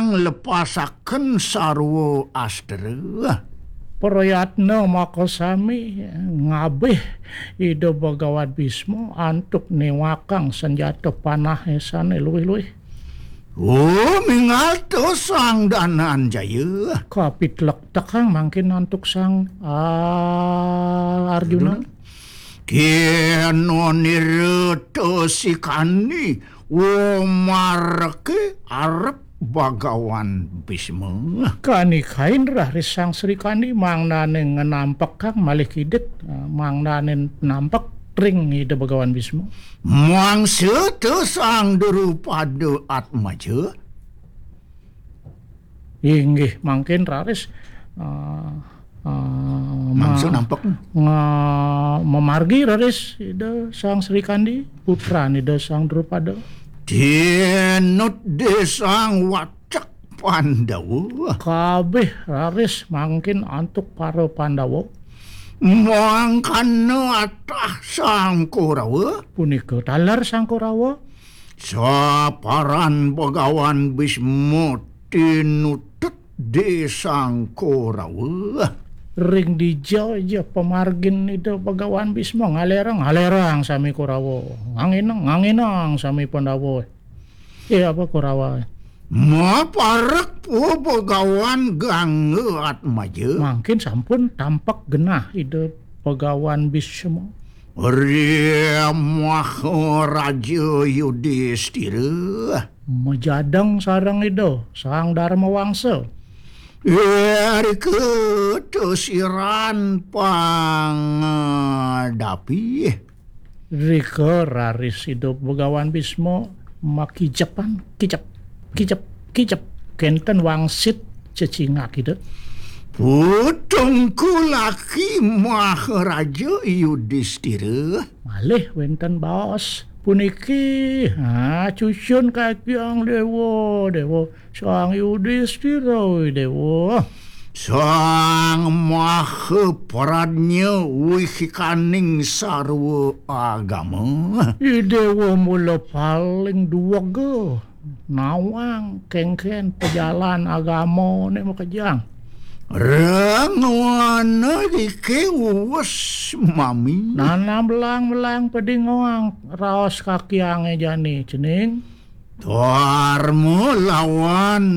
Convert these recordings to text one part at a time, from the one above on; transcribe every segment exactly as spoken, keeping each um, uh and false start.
Lepasaken sarwa astra. Prayatna makasami ngabih Ida Bagawan Bisma antuk niwakang sanjata panahé sané luwih-luwih. Oh, mingata Sang Dananjaya. Kapitlektekang mangkin antuk Sang, ah, Arjuna. Arjuna. Kéna nirta sikandi wamarké arep Bagawan Bisma. Kanikain raris Sang Srikandi mangdané ngnampekang malih kidik, eh, mangdané nampek ring Ida Bagawan Bisma. Mangsa ta Sang Drupada Atmaja. Inggih, mangkin raris, eh, eh, Mangsa ma-, nampek. Nga-, mamargi raris Ida Sang Srikandi, putran Ida Sang Drupada. Tinut dé Sang Wacak Pandawa. Kabéh raris mangkin antuk para Pandawa. Mangkana atah Sang Korawa. Punika taler Sang Korawa. Saparan Bagawan Bisma tinutut dé Sang Korawa. Ring dija ja pamargin Ida Bagawan Bisma ngalerang, ngalerang sami Korawa. Nganginang, nganginang sami Pandawa. Eh, apa Korawa? Maparek Bagawan Gangga Atmaja. Mangkin sampun tampek genah Ida Bagawan Bisma. Ri Maharaja Yudistira. Majadeng sareng Ida Sang Darma Wangsa. Irika tesiran pangadapi. Rika raris Ida Bagawan Bisma makijepan, kijep, kijep, kijep. Kénten wangsit cecingak Ida. Putungku laki Maharaja Yudistira. Malih wénten baos puniki. Ha, cucun kakyang Déwa, Déwa. Sang Yudistira, Déwa. Sang Maha Pradnya wihikaning sarwa agama. I Déwa mula paling duwega nawang kénkén pajalan agamané makejang. Rangwana iki uwes mami. Nana belang-belang pedingoang raos kakyangé jani cening. Dharma lawan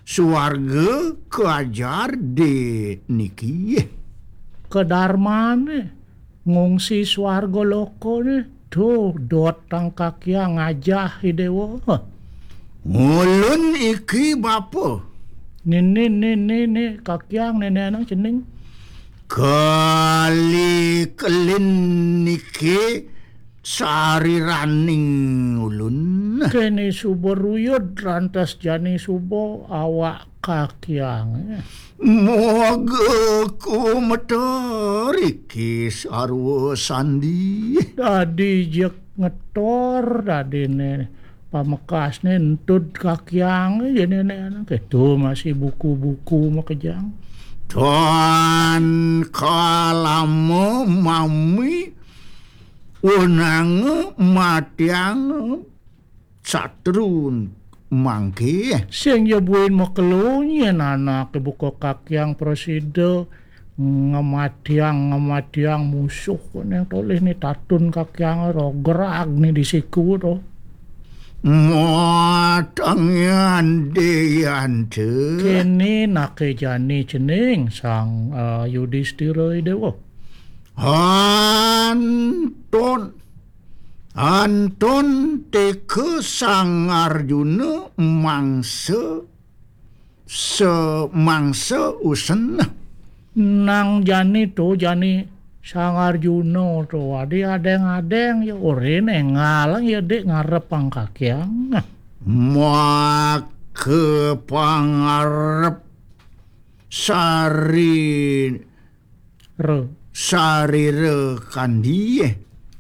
suarga kajar dé niki. Kedarmané ngungsi suarga lokané. Tuh, dot tang kakyang ngajah I Déwa. Ngulun iki bapa. Nini, nini, ni kakyang nénénang cening. Kali kelin niki sariraning ulun. Kéné suba ruyud rantas jani suba awak kakyang. Moga kumeter iki sarwa sandi. Dadi jeg ngetor dadiné pamekasné entud kakyang jani né anak itu masih buku-buku makejang. Tan kalama mami wenang matiang satrun mangké. Sing ya buin makelo nyén anaké buka kakyang prasida ngematiang, ngematiang musuh kok neng tolih ni tatun kakyang rogerag ni di siku to. Matangyan Déyanta. Kéné naké jani cening Sang, eh, Yudistira I Déwa. Antun, antun teka Sang Arjuna mangsa, se-, mangsa usen. Nang jani to, jani Sang Arjuna to, adi adeng-adeng ya ora néngal ya dik ngarep angkakyang. Maka pangarep sari Re. Sarira kandi.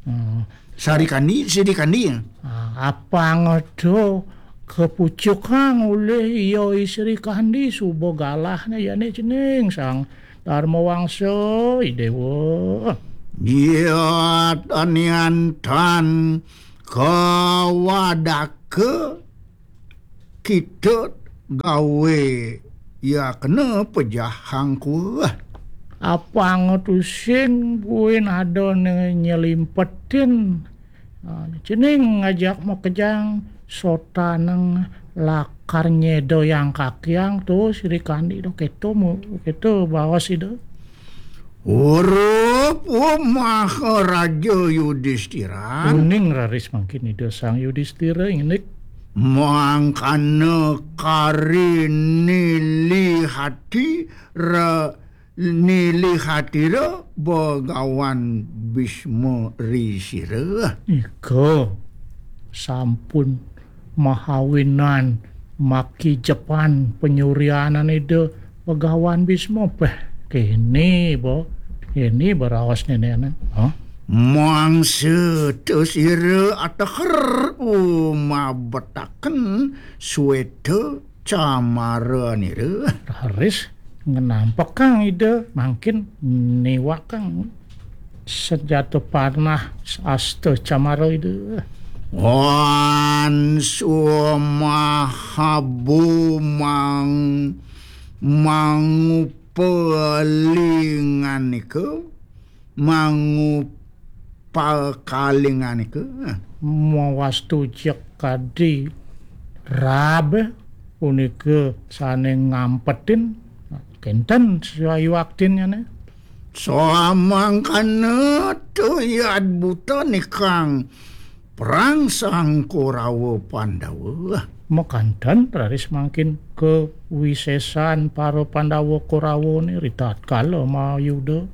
Hmm. Sari kandi, siri kandi. Ah, apang ada kepucukang oleh iya Sri Kandi suba galahné jani cening Sang Dharma Wangsa, I Déwa. Iya tanian tan kawadaka kita gawe ya kena pejahang kuah. Apang tusing buin ada ne nyelimpetin. Ah, cening ngajak makejang sotaneng lakar nyedo yang kakiang tu Sri Kandi do keto mu, keto bawas ida. Urup Maharaja Yudistira. Uning raris mangkin ida Sang Yudistira indik. Mangkana kari nilihati ra nilihatira Begawan Bisma ri sira. Ika sampun mahawinan makijepan penyurianan ida Begawan Bisma peh. Kini bo, kini beraos nenekne. Hah? Mangsa tu sira ateher umabetaken sweta camara nira. Raris ngenampekang ida mangkin niwakang senjata panah asta camara ida. Wan sumahabu mang mangupalinganika, mangupakalinganika. Mawastu jek kadi rabe punika sane ngampetin kenten sayuaktinnyane. Samangkana tuyat buta nikang perang sang Korawa Pandawa. Makanten raris mangkin kawisesan para Pandawa Korawane ritatkala mayuda.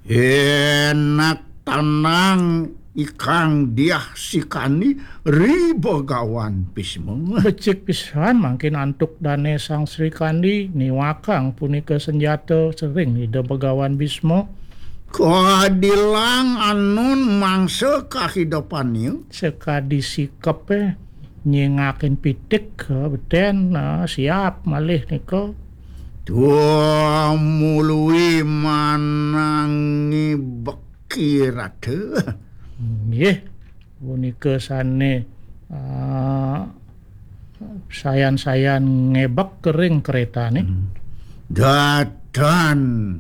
Enak tanang ikang diah sikani ri Begawan Bisma. Becik pisan mangkin antuk dane Sang Sri Kandi niwakang punika senjata sering ida Begawan Bisma. Kadilang anun mangsa kahidupannya. Sekadi sikepe nyingakin pitik, eh, beten, eh, siap malih nika. Tua mului manangi beki rata. Nggih, punika sane, eh, sayan-sayan ngebek kering keretane. Hmm. Datan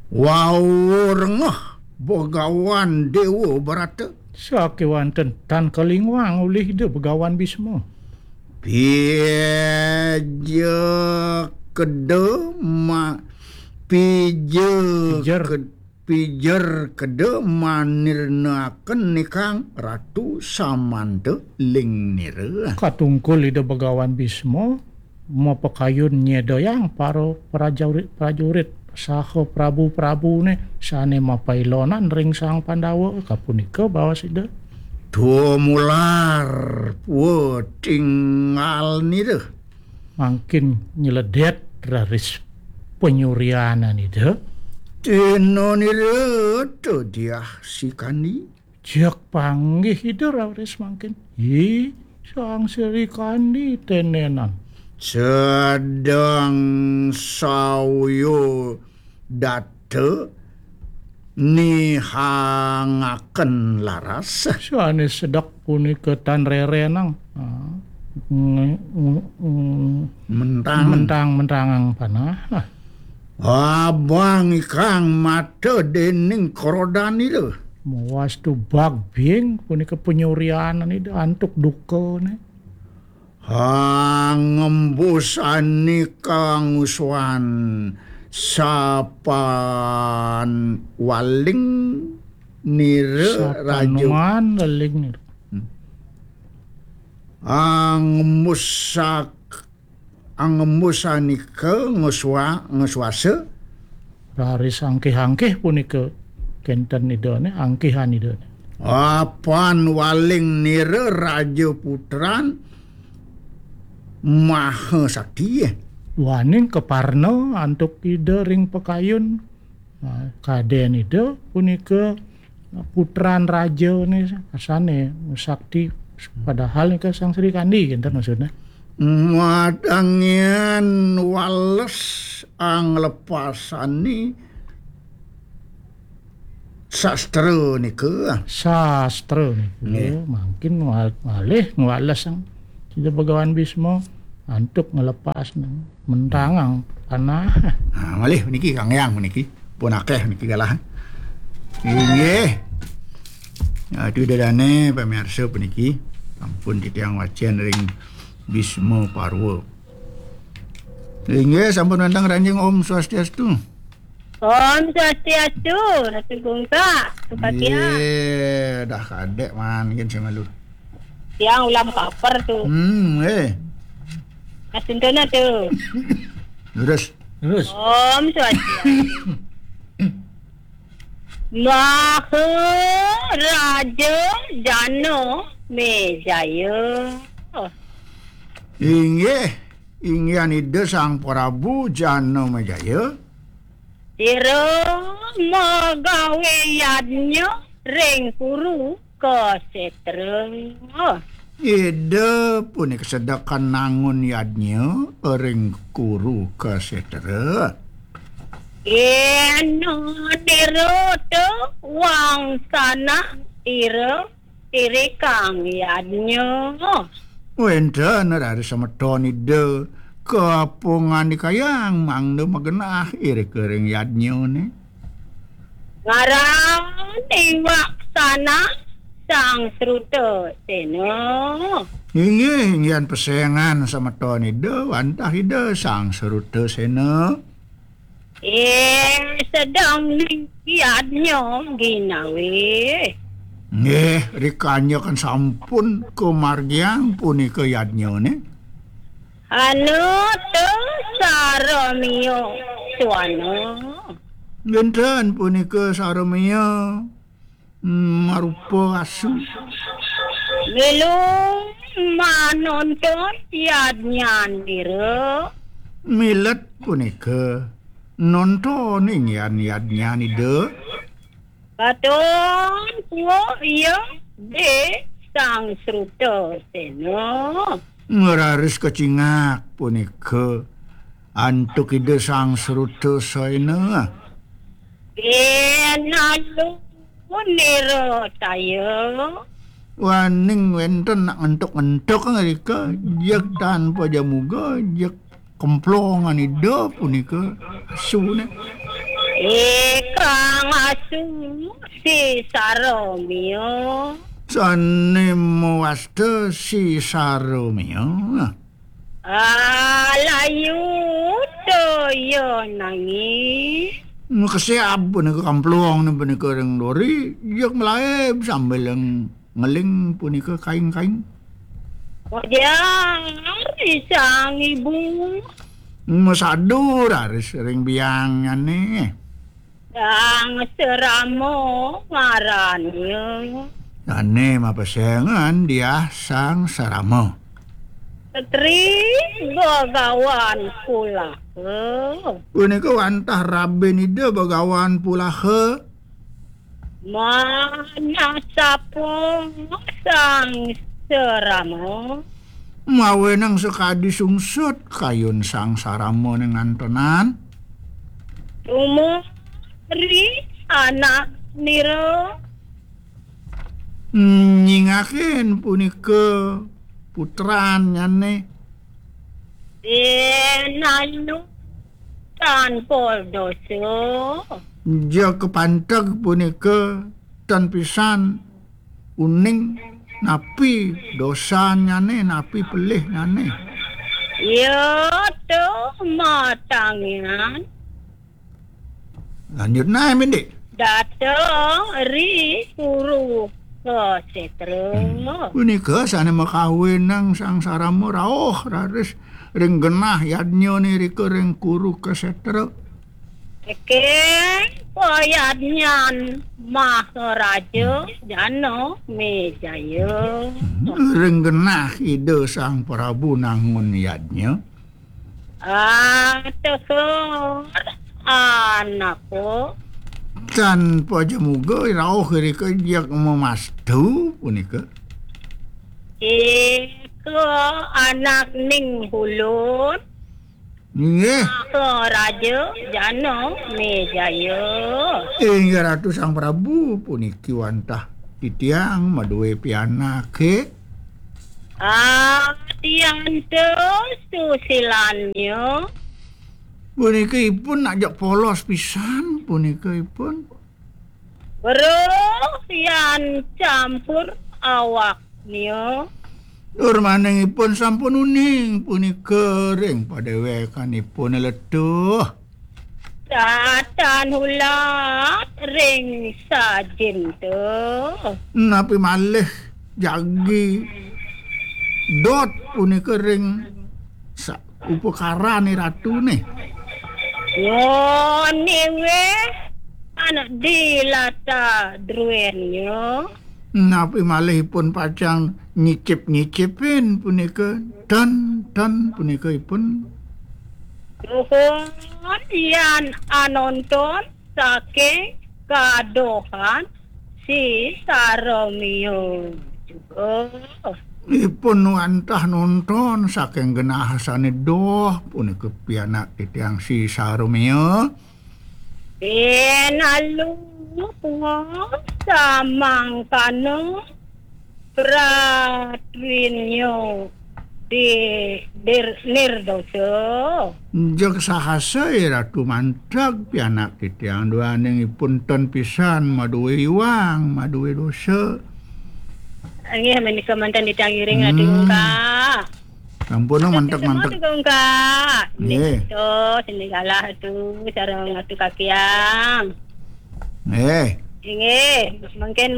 wau rengeh Begawan Dewa Barata. Sakewanten tan kalingwang ulih ida Begawan Bisma. Pija keda ma-, pija Pijer. Ked-, pijer keda manirnaken nikang Ratu Samanta ling nira. Katungkul ida Begawan Bisma mapakayun nyedayang para prajurit-prajurit saha prabu-prabune sane mapailonan ring Sang Pandawa, kapunika baos ida. Tumular pua tinggal nira. Mangkin nyeledet raris penyurianan ida. Tena nira tu diah sikani. Jak panggih ida raris mangkin. Hi, Sang Sri Kandi tenenan. Sedang sauyo data nihangaken laras. Sane sedek punika tan rerenang. Ah, nge-, nge-, nge-, Mentang. Mentang-mentangang panah. Ah. Abang ikang mata dening krodan ida. Mawastu bagbing punika penyurianan ida antuk dukane. Angembusani kanguswan sapan waling nira raja. Sapanuan leling nira. Hmm. Angembusak-, angembusanika nguswa-, nguswasa. Raris angkih-angkih punika kenten idane, angkihan idane. Apan waling nira raja putran maha sakti. Waning kaparna antuk ida ring pakayun. Nah, kaden ida punika putran raja ne asane sakti, padahal nika Sang Sri Kandi kenten maksudnya. Madangian wales anglepasani sastra nika. Sastra nika. Nggih. Mangkin ngal-, ngalih ngwales sang sida Begawan Bisma. Antuk ngelepas mentangang panah. Nah, malih niki Kang Yang niki. Pun akeh niki galah. Inggih. Aduh, dadane pamirsa puniki. Ampun titiang wacen ring Bisma Parwa. Inggih, sampun wantang ranjing. Om Swastiastu. Om Swastiastu, Ratu Gungsa, Supatia. Ye, dah kadek man, yen sing malu. Tiang ulam kaper tu. Hmm, eh. Mas Sentona tu. Lurus. Lurus. Om Swastiastu. Maharaja Jana Mejaya. Inggih, inggihan Ida Sang Prabu Jana Mejaya. Ira magawe yadnya ring Kuru Kasetra. Ida punika sedekan nangun yadnya ring Kuru Kasetra. Yena nirata wangsana ira irikang yadnya. Wenten raris semeton Ida kapangandikayang mangda magenah irika ring yadnyane. Ngaran iwaksana Sang Sruta Sena. Inggih, inggihan pesengan semeton Ida wantah Ida Sang Sruta Sena. Eh, sedeng ning yadnya ginawe. Nggih, rikanya kan sampun kamargiang punika yadnyane. Anu tu saramia suana. Wenten punika saramia, mm, marupa asu. Milu manonton yadnyanira. Milet punika nonton inggihan yadnyan Ida. Katon kuuk iya di Sang Sruta Sena. Raris kacingak punika antuk Ida Sang Sruta Sena. Inalu nira taya. Waning wenten nak ngentuk-ngentuk ngrika, jeg tanpa jamuga, jeg kemplongan Ida punika asune. Ikang asu si saramia. Sane mawasta si saramia. Alayu toya nangi. Makesiab punika kamplong punika ring dori, jeg malaib sambil ngeling punika kaing-kaing. Wajar Sang Ibu. Masadu raris ring biangnyane. Sang Sarama ngarannya. Dane mapesengan Diah Sang Sarama. Setri Bagawan Pulaha. Punika wantah rabin Ida Bagawan Pulaha. Manasapa Sang Sarama. Mawenang sakadi sungsut kayun Sang Sarama ning antenan. Tumuri anak nira. Nyingakin punika putrannyane. Inalu tanpa dosa. Ja kapanteg punika tan pisan uning napi dosannyane, napi pelihnyane. Ya tu matangian. Lanjut nah, Mindik. Dateng ri Kuru Kasetra. Hmm. Punika sane makawinang Sang Sarama rauh raris ring genah yadnyane rika ring Kuru Kasetra. Saking payadnyan Maharaja Jana Mejaya. Ring genah Ida Sang Prabu nangun yadnya. Ateher anako. Tan pajamuga rauh irika jeg mamastu punika. Ika anak ning ulun. Nggih. Maharaja Jana Mejaya. Inggih Ratu Sang Prabu, puniki wantah titiang madue pianake. Adianto susilannya. Punika ipun nak jak polos pisan, punika ipun. Weruh yan campur awaknya. Tur maning ipun sampun uning punika ring padewekanipun letuh. Tatan hulat ring sajin to. Napi malih jagi dot punika ring sa-, upakarane ratune. Ngone weh anak dilata druennya. Napi malih ipun pacang nyicip-nyicipin punika, ten, ten punika ipun. Duhun yan anonton saking kadohan si Saromio juga. Ipun wantah nonton saking genah sane doh punika pianak titiang si Saromio. Pinalu samangkana pratwinyo di dir-, nirdosa. Jeg sahasa, eh, Ratu mantag pianak titiang duaning ipun ten pisan maduwe iwang, maduwe dosa. Inggih, menika manten titiang ngiring Ratu Hmm. Ungkak. Sampun, oh, manteg, manteg. Ratu Ungkak. Nggih. Nggih, to, sini galah tu, sareng Ratu Kakiang. Nggih. Inggih, mungkin,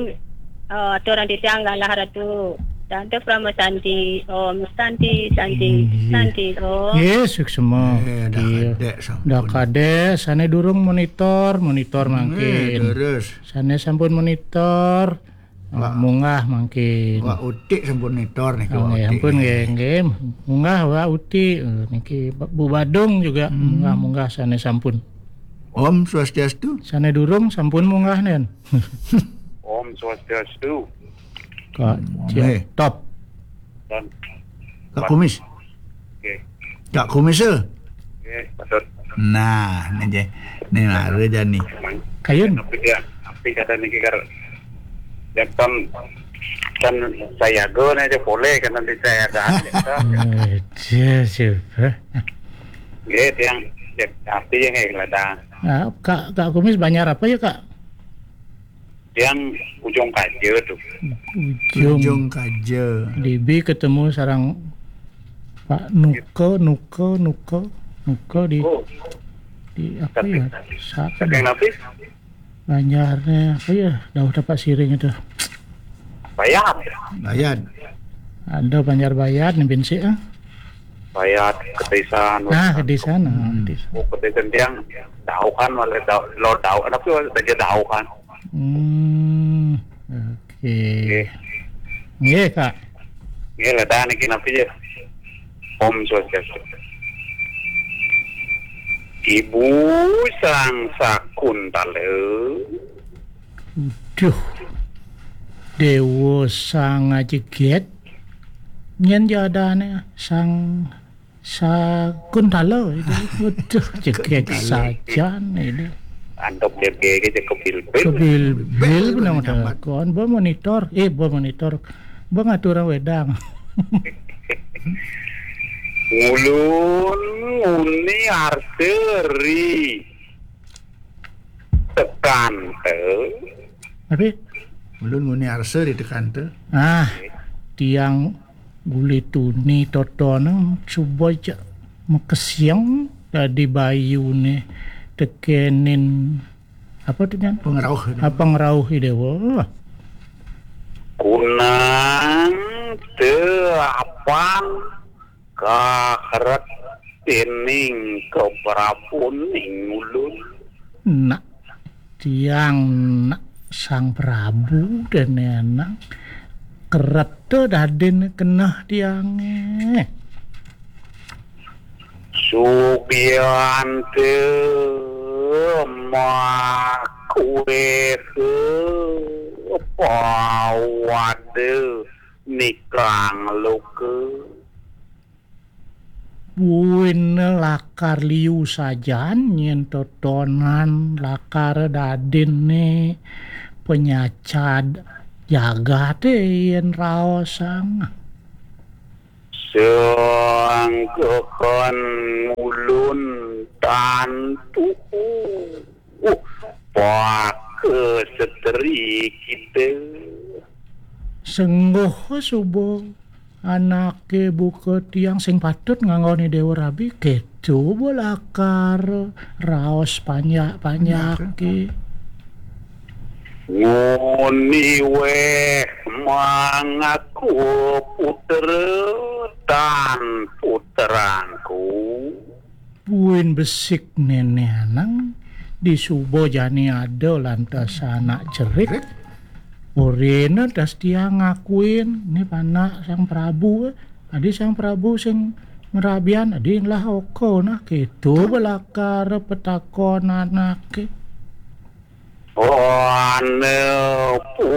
eh, aturan titiang galah Ratu. Tante Prama Santi, Om Santi, Santi, Inggih. Santi, Om. Nggih, suksema. Eh, dah Iya. Kadek sampun. Dah kadek, sane durung monitor, monitor Nggih, mangkin. Terus. Sane sampun monitor, Wah. Munggah mangkin. Wah, Utik sampun nitor niki, Oh, nggih, Wak Utik. Ampun, nggih, nggih. Munggah, Wak Utik. Eh, niki Bu Badung juga Hmm. munggah-munggah sane sampun. Om Swastiastu. Sane durung sampun munggah, nen. Om Swastiastu. Kak Om, Cia-, eh. Top. Dan Kak Kumis. Oke. Kak Kumis, eh. Oke, patut. Nah, ini je. Ini mara jani. Kayun. Tapi dia, tapi kata niki kar, dia kan, kan saya go nih aja boleh kan nanti saya kan. Eh, dia siapa? Nggih, tiang, tiang arti ya nggih, Ladang. Nah, Kak, Kak Kumis banjar apa ya, Kak? Tiang Ujung Kaja tuh. Ujung. Ujung Kaja. Dibi ketemu sareng Pak Nuko, Nuko, Nuko, Nuko di, Oh. di apa Tapi, ya? Sa-, saking napi? Banjarnya apa ya? Dauh tapak siring itu. Bayat. Bayat. Ada Banjar Bayat nih, Bin, sih, ah. Bayat, Kedisan. Nah, Kedisan, ah, Hmm. Kedisan. Oh, Kedisan tiang dauh kan, malah dauh, lo dauh, tapi saja dauh kan. Hmm, oke. Nggih. Nggih, Kak. Nggih, Ladang niki napi ya? Om Swastiastu. Ibu Sang Sakuntala. Duh. Dewa Sang Ajeget. Nyen jadane Sang Sakuntala itu. Waduh, jeget Sakuntala. Sajan itu. Antuk jeget ke kebilbil. Kebilbil. Kebilbil benar. Nyambat. Kon, ba monitor. Eh, ba monitor. Ba ngatur wedang. Ngulun nguni arsa ri tekanta. Tapi? Ngulun nguni arsa ri tekanta. Ah, tiang uli tuni totonan suba ja makesiang dadi bayune tekenin apa tuh, Nyan? Pangrauh. Ah, pangrauh Idewa. Kunang te apan kahret dening keprabuning ulun. Nak tiang nak Sang Prabu dene nang kereta dadin keneh tiange. Sugiante makuehe pawade nikang luke. Buin lakar liu sajan nyen totonan lakar dadinne penyacad jagate yen raosang. Sengkeken ulun tantu, uh, pakasetri kita. Sengguh suba anake buka tiang sing patut nganggoni Dewa Rabi, keto ba lakar raos panjak-panjake. Nguni weh mangaku putra tan putrangku. Buin besik Nenek Anang, disuba jani ada lantas anak cerik. Orina das tiang ngakuin, ni panak Sang Prabu, eh. Adi Sang Prabu sing ngrabian, adi lah oko nah, keto belakar petakon anake. Ane pu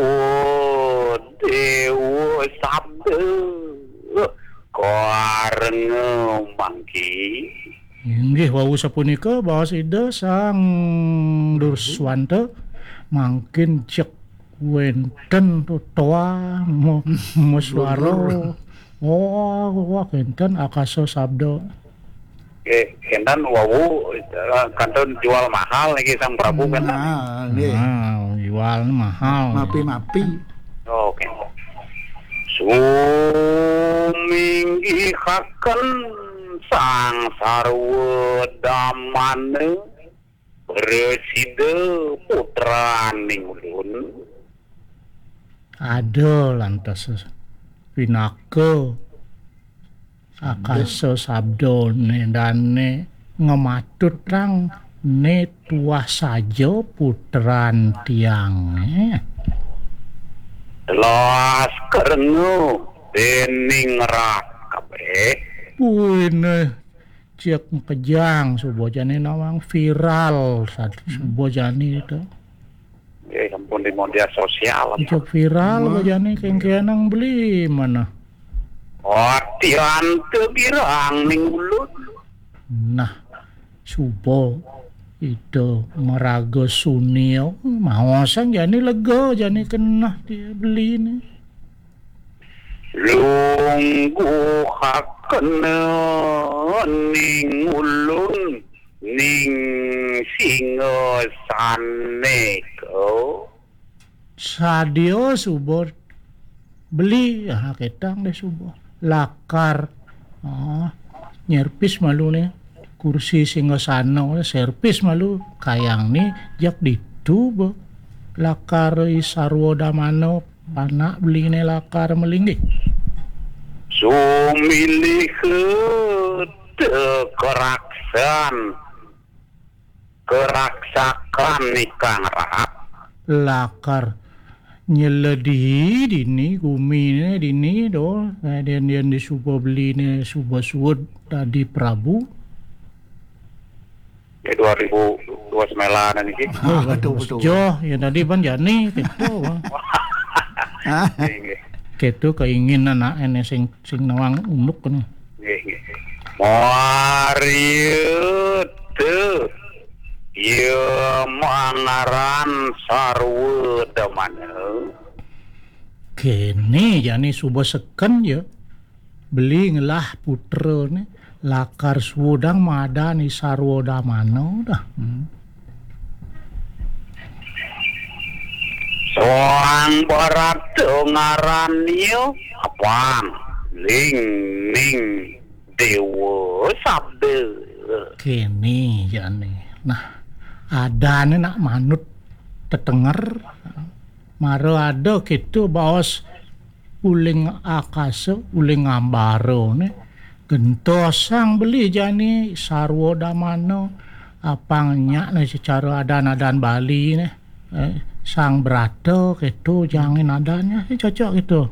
Dewa Sabda karenga mangki. Inggih wau sapunika baos Ida Sang Durswanta, mangkin cek wenten toa mo-, moswara. Oh, wah, wenten akasa sabda. Nggih, kenten wau, eh, kantun jual mahal niki Sang Prabu, kenten. Nah, nggih. Nah, jual mahal. Mapi-mapi. Oke. Suminggihaken Sang Sarwa Damana, prasida putraning ulun. Ada lantas pinaka akasa sabdane dane ngematutang ne tuah saja putran tiange. Telas kerengu dening rat kabeh. Buine cek makejang suba jani nawang viral sad-, suba jani to. Nggih, sampun di media sosial. Cek viral suba jani kengkenang beli mana. Atian te girang ning ulun. Nah, suba itu maraga sunil, maosan jani lega jani kenah dia beli ni. Lungguhakena ning ulun ning singasane ko. Sadia suba beli, ah, ketang deh suba. Lakar, ah, nyerpis malu ne. Kursi singasana, serpis malu kayang ni jak ditu ba. Lakar i sarwa damana panak beli ne lakar melinggih. Sumilih te keraksan, keraksakan ikang rat. Lakar nyeledi dini, gumine dini do, eh, den, den disuba beli ne suba suud dadi prabu. Ya, dua ribu dua sembilan niki. Ah, betul, betul. Joh, ya tadi ban jani, keto, Bang. Nggih, nggih. Keto keinginan anak ene sing, sing nawang unduk ni. Nggih, nggih. Mariet. Ya mangaran sarwa damana. Kene jani suba seken ya. Beli ngelah putra ni lakar sudang madani sarwa damana dah. Hmm. Soang barata ngaran iya apang ling ning Dewa Sabda. Kene jane. Nah, adane nak manut tetenger. Mara ada keto baos uling akasa, uling ambara ne. Gentosang beli jani sarwa damana apang nyak ne secara adan-adan Bali ne. Eh, sang brata keto jangin adannya, eh, cocok gitu.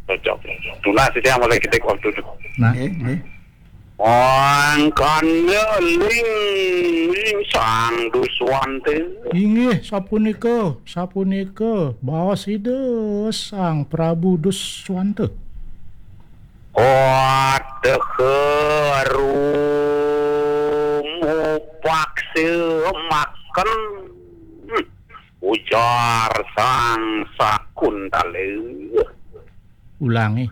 Cocok. Tunas siti amal kita waktu tu. Nah. Nggih, nggih. Mangkana ling, ling Sang Duswante. Inggih, sapunika, sapunika, baos Ida Sang Prabu Duswante. Wadeh rumupaksa makan, ujar Sang Sakuntala. Ulangi.